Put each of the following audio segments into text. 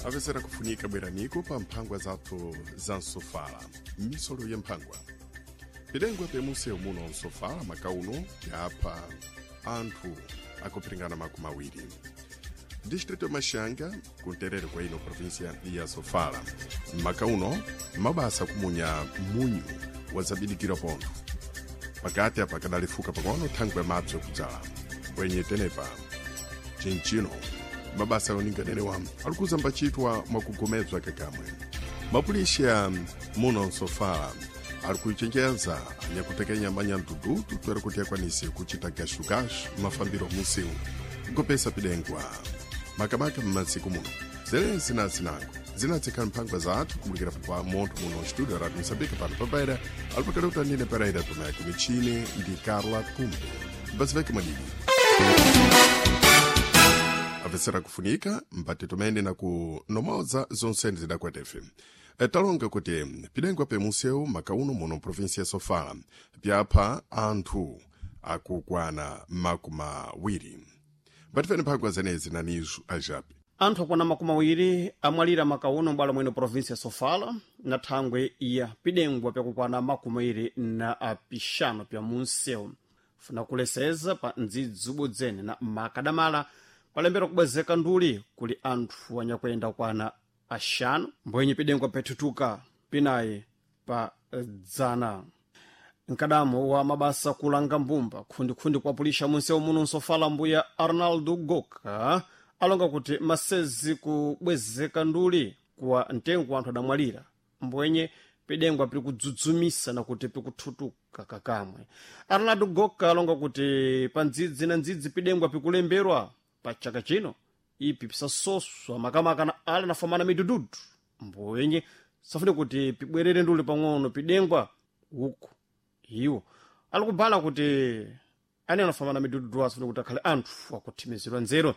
Apesera kufunika bweraniko pa mphangwa zathu za msofala, misolo ya mphangwa pilengwe pemusewu muno msofala makauno yapha anthu akupiringana 20 distrito ya Maxanga, kunterere kwa ino província ya Sofala. Makauno mabasa kumunya munyu wazabidikira pontho pakati apa kadalifuka pang'ono thangwe ya madzi okudzala bwenye tenepa chinchino mabasa yoninganerewa alikuza mbachitwa mwakugomedzwa kakamwe. Mapulisha muno msofala ali kuichenjeza anyakutekenya manyandududu twere kuti akwanise kuchita gashugashu mafambiro musiu nkupesa pidengwa makamaka mmasiku muno. Zelezi na zinango zinatsikhala mphangwa zathu kumulikira pa montho muno studio Radio Moçambique pano papaira alipakale utanine Pereira Tomé, michini ndi Carla Kumbe. Mbaziveke mwadidi apesera kufunika mbati tumene na kunomoza zonse zidakwetefe. Talonga kuti pidengwa pemusewu makauno muno provinsia ya Sofala pyapha anthu akukwana 20. Mbatifeni mphangwa zenezi nanizo ajapi. Anthu akwana 20 amwalira makauno m'bwalo mwino provinsi ya Sofala na thangwe ya pidengwa pyakukwana 25 pya munsewu. Funa kuleseza pa ndzidzi ubodzene na makadamala palembera kubwezeka nduli kuli anthu anyakuyenda kwana 5 mbwenye pidengwa pethutuka pinayi pa dzana. Mkadamo wa mabasa kulanga mbumba khundikhundi kuapulisha munsewu muno nsofala mbuya Arnaldo Goka alonga kuti masezi kubwezeka nduli kuwa mtengo anthu adamwalira mbwenye pidengwa pili kudzudzumisa na kuti pikuthutuka kakamwe. Arnaldo Goka alonga kuti pa ndzidzi na ndzidzi pidengwa pikulemberwa pa chaka chino ipi pisasoswa makamaka na ala nafamana midududu mbwenye safune kuti pibwerere nduli pang'ono pidengwa uku iwo alikubhala kuti ane anafamana midududu asafune kuti akhale anthu akuthimizidwa nzeru.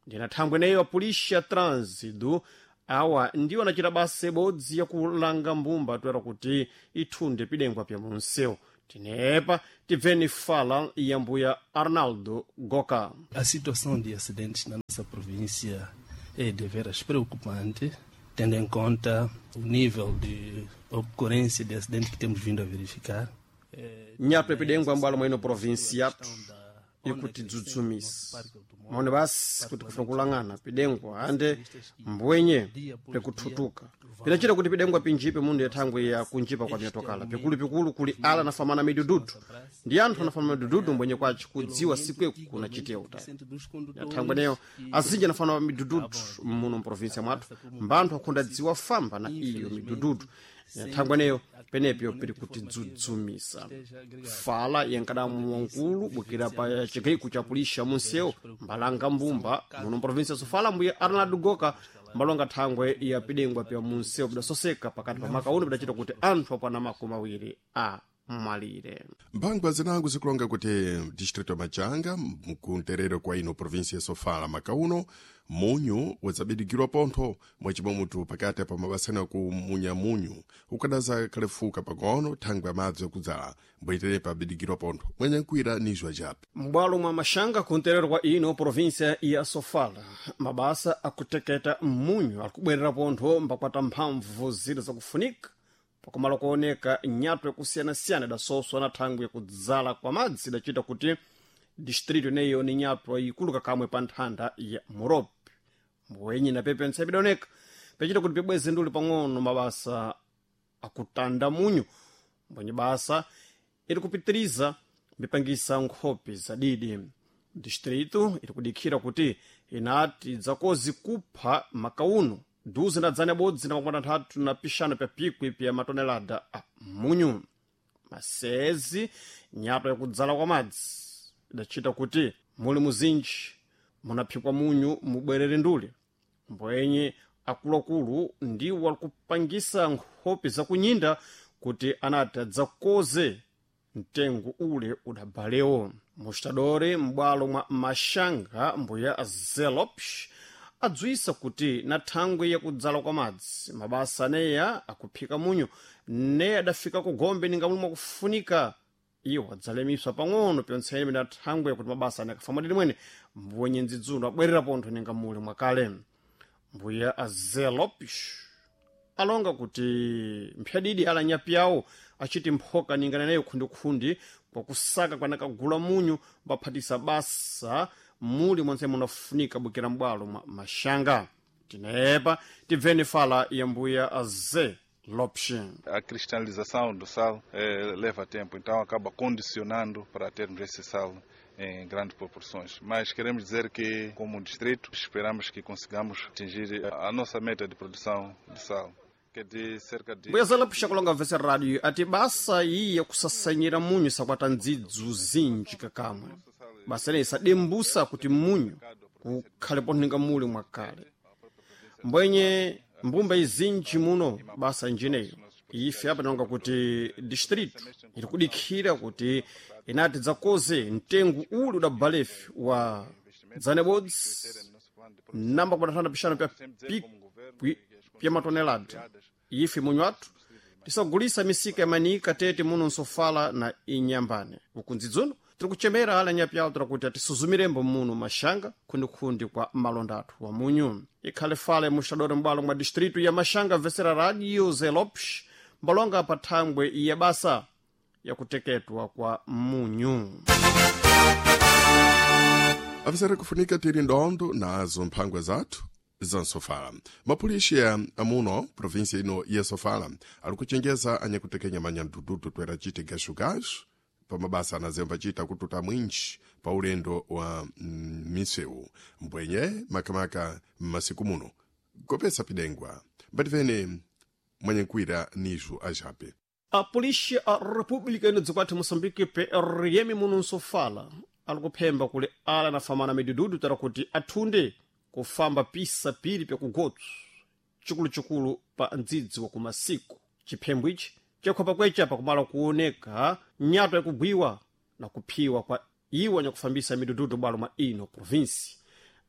Ndina thangwe neyo apulisha trânsido awa ndiwo anachita basa ibodzi yakulanga mbumba toera kuti ithunde pidengwa pya munsewu. Tinepa tibveni fala ya mbuya Arnaldo Goka. A situação de acidentes na nossa província é deveras preocupante, tendo em conta o nível de ocorrência de acidentes que temos vindo a verificar. Nyape pidengwa mbwalo mwino província yathu ikutidzudzumisa maone basi kuti kufuna kulang'ana pidengwa ande mbwenye pikuthutuka pinachita kuti pidengwa pinjipe mundu yathangwe ya kunjipa kwa myatokala pikulupikulu kuli ala anafamana midududu ndi anthu anafamana midududu mbwenye kwaci kudziwa sikweku kunachitiya utali yathangwe neyo azinji anafana midududu muno mprovinsia mwathu mbanthu akhonda dziwa famba na iyo midududu yathangwe neyo penepyo pili kutidzudzumisa. Fala yankadamu wankulu bukira pa chigaiko cha pulisha munsewu mbalanga mbumba muno mprovinsia ya Sofala mbuya Arnaldo Goka mbalonga thangwe ya pidengwa pya munsewu pidasoseka pakati pa makauno pidachita kuti anthu akwana 20 amwalire. Mphangwa zinango zikulonga kuti distrito ya Machanga mkunterero kwa ino província ya Sofala makauno munyu wadzabidikirwa pontho mwachimwemutu pakati pa mabasani akumunya munyu ukadaza kalefuka pang'ono thangwe amadzi akudzala mbwetere pabidikirwa pontho mwenyankwira nizwa japi. M'bwalo mwa Maxanga kunterero kwa ino província ya Sofala mabasa akuteketa munyu alikubwerera pontho mbakwata mphamvu zira zakufunika pakumala kuoneka nyato yakusiyanasiyana idasoswa na thangwi yakudzala kwa madzi idachita kuti distrito ineyo ni nyato ikulu kakamwe pa nthanda ya Moropi. Mbwenye na pepe ntsepe idaoneka pachita kuti pibweze nduli pang'ono mabasa akutanda munyu mbwenye basa iri kupitiriza mipangisa nkhope zadidi. Distrito iri kudikhira kuti inati dzakozi kupha makauno duze na dzana ibodzi na 65 pya pikwi pya matonelada a munyu. Masezi nyato yakudzala kwa madzi idachita kuti muli muzinji munaphikwa munyu mubwerere nduli mbwenye akuluakulu ndiwo alikupangisa nkhope zakunyinda kuti anati adzakoze mtengo ule udabalewo. Mustadore m'bwalo mwa Maxanga mbuya Zelopsh adzwisa kuti na thangwi yakudzala kwa madzi mabasa aneya akuphika munyu ne adafika ku gombe ninga momwe akufunika iwo adzalemiswa pang'ono pyontsene mina thangwi yakuti mabasa ane akafamba mwene mbwenye ndzidzulo abwerera pontho ninga muli mwakale. Mbuya Azé Lopes alonga kuti mphyadidi ala nyapi yawo achiti mphoka ningana nayo khundikhundi kwakusaka kwanakagula munyu mbaphatisa basa muli mwense munafunika bukira m'bwalo mwa Maxanga. Tinepa tibveni fala ya mbuya Azé Lopes. A cristalização do sal leva tempo, então acaba condicionando para termos esse sal em grandes proporções. Mas queremos dizer que, como distrito, esperamos que consigamos atingir a nossa meta de produção de sal, que é de cerca de... Mbuya Zé Lopes akulonga vese rádio ati basa iyi yakusasanyira munyu sakwata ndzidzu zinji kakamwe. Basa ineyi sadembusa kuti munyu kukhale pontho muli mwakale. Mbwenye mbumba izinji muno basa njineyo ife apa tinonga kuti distrito iri kudikhira kuti inati dzakoze mtengo uli udabalefi wa dzanebodzi namba kupatatana pixano pya pikwi pya matonelada. Ife munyu athu tisagulisa misika ya manika tete muno nsofala na inyambane. Ukundzidzuno tiri kuchemera ala nyapi yawo tira kuti atisuzumirembo muno Maxanga khundikhundi kwa malonda athu wa munyu. Ikhale fale muxadore m'bwalo mwa distrito ya Maxanga vesera radio Zé Lopes mbalonga pa thangwe ya basa yakuteketwa kwa munyu. Avisera kufunika tiri ndondo nazo mphangwa zathu za Sofala. Mapulisha amuno província ino ya Sofala ali kuchenjeza anyakutekenya manyandududu twera chite gashugashu pa mabasa anazemba chita kututa mwinji pa ulendo wa misewu mbwenye makamaka m'masiku muno kopesa pidengwa mbativene mwanyankwira nijo ajape. A polícia a República ino dzikwathu Moçambique PRM muno nsofala ali kuphemba kuli ala nafamana midududu tara kuti athunde kufamba pisa piri pyakugotso chikuluchikulu pa ndzidzi wa kumasiku. Chiphembo ichi chakhwapa kwecha pakumala kuoneka nyato yakugwiwa na kuphiwa kwa iwo anyakufambisa midududu bwalo mwa ino provinsi.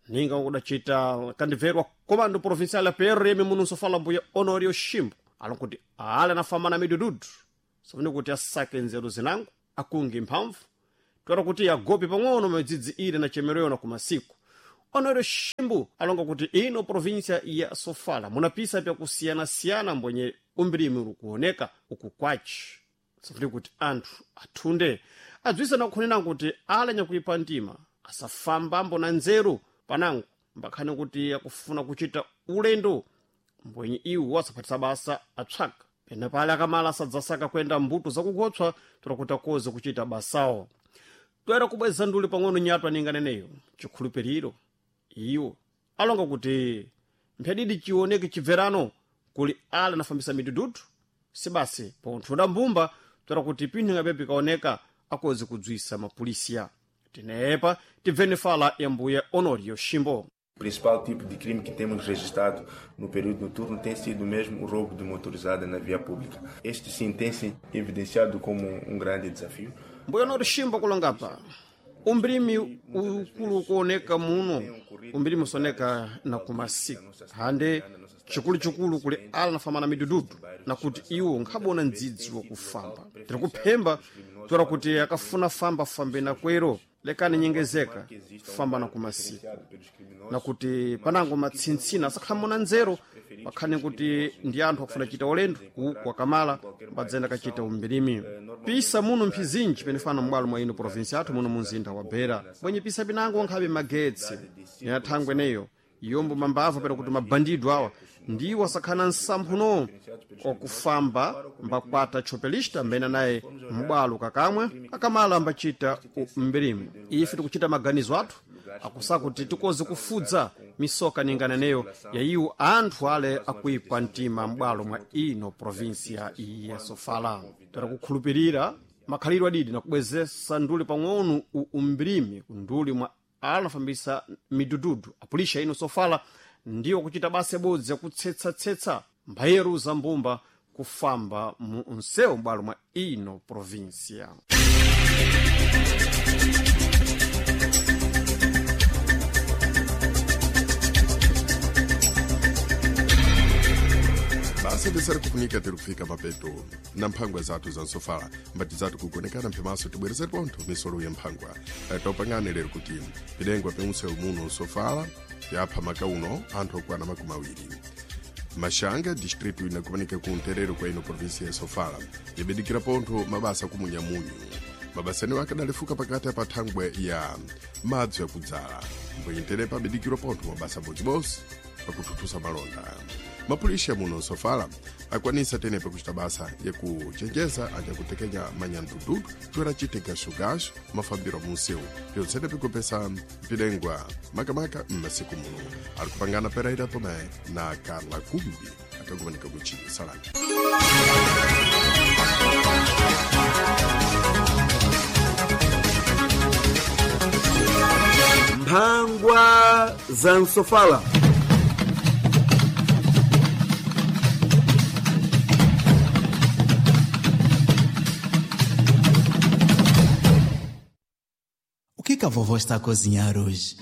Ninga kudacita kandibverwa komando provincial ya PRM muno nsofala mbuya Honorio Shimbo alonkuti ala nafamana midududu safune kuti asake nzeru zinango akunge mphamvu twera kuti agope pang'ono madzidzi ile na chemereyo na kumasiku. Honorio Shimbo alonga kuti ino província ya Sofala munapisa pyakusiyanasiyana mbwenye umbirimi uri kuoneka uku kwaci safune kuti anthu athunde adzwisa nakukhonena kuti ala nyakuipa mtima asafambambo na nzeru panango mbakhani kuti akufuna kuchita ulendo mbwenye iwo asaphatisa basa atsvaka pena pale akamala asadzasaka kuyenda mbuto zakugotswa tola kuti akoze kuchita basawo. Toera kubweza nduli pang'ono nyatwa ninganeneyo chikhulupiriro iwo alonga kuti mphyadidi chioneke chibverano kuli ala anafambisa midududu sibasi ponthuda mbumba toera kuti pinthu pepi kaoneka akoze kudzwisa mapulisiya. Tinepa tibveni fala ya mbuya Honorio Shimbo. O principal tipo de crime que temos registrado no período noturno tem sido mesmo o roubo de motorizada na via pública. Este sim tem se evidenciado como um grande desafio. Mbuya Honorio Shimbo kulongapa umbrimi ukulu kuoneka muno umbrimi usoneka na kumasiku hande chikuluchikulu kuli ala nafamana midududu na kuti iwo nkhabona ndzidzi wakufamba. Tiri kuphemba toera kuti akafuna famba fambe na kwero lekani nyengezeka famba na kumasiku na kuti panango matsintsina asakhamona nzeru pakhani kuti ndi anthu akufuna chita ulendo uku akamala mbadzenda kachita umbirimi. Pisa muno mphizinji penefana m'bwalo mwa ino provinsi athu muno munzinda wa Beira bwenye pisa pinango nkhabe magetsi ya thangwe neyo yombo mambava pera kuti mabandido awa ndiwo asakhana nsamphuno okufamba mbakwata chopelista mbena naye m'bwalo kakamwe akamala ambachita umbirimi. Ife tikuchita maganizo athu akusakuti tikoze kufudza misoka ninganeneyo ya iwo anthu ale akuipa mtima m'bwalo mwa ino provinsia ya Sofala. Tera kukhulupirira makhalidwe adidi na kubwezesa nduli pang'ono umbirimi kunduli mwa anafambisa midududu apulisha ino Sofala ndiwo kuchita basa ibodzi yakutsetsa-tsetsa mbayeru za mbumba kufamba mu msewu m'bwalo mwa ino provinsia. Basa tisari kufunika tiri kufika mapeto na mphangwa zathu za nsofala mbati zathu kugonekana mphemaso tibwerezere pontho misolo ya mphangwa. Topangane lero kuti pidengwa peunsewu muno nsofala Yapha makauno anthu okwana 20. Mashanga, distrito inakumanika ku nterero kwa ino província ya Sofala, yabedikira pontho mabasa kumunyamunyu. Mabasa anewo akadalefuka pakati pa thangwe ya madzi yakudzala, mbwenyenterepa abedikirwa pontho mabasa bodzibodzi pakuthuthusa malonda. Mapulisha muno Sofala akwanisa tenepa kuchita basa yakuchenjeza anyakutekenya manyandududu toera chite gaxogaxo mafambiro munsewu, pyontsene pikupesa mpilengwa makamaka m'masiku muno. Ali kupangana Pereira Tomé na Carla Kumbi akakumanika kuchini Salami. Mphangwa za Nsofala. O que que a vovó está a cozinhar hoje?